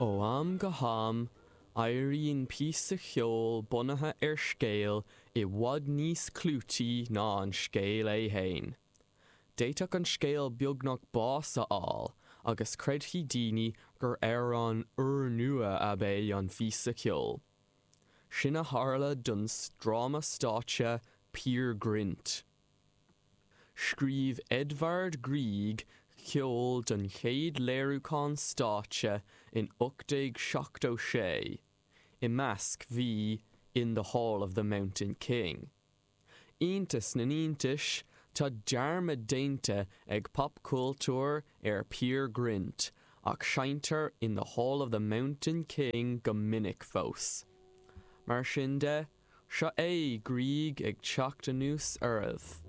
Ó am go ham, éiríonn píosa ceoil bunaithe ar scéal i bhfad níos clúití ná an scéal é fhéin. D'fhéadfadh an scéal beagnach bás a fháil agus creidfidh daoine gur amhrán úrnua ab ea an phíosa ceoil. Sin a tharla don dráma stáitse Peer Gynt. Scríobh Edvard Grieg ceol don chéad léiriúchán stáitse in 1876, i measc bhí In the Hall of the Mountain King. Iontas na n-iontais, tá dearmad déanta ag popchultúr ar Peer Gynt ach seinntear In the Hall of the Mountain King go minic fós. Mar sin de, Seo é Grieg ag teacht anuas oraibh.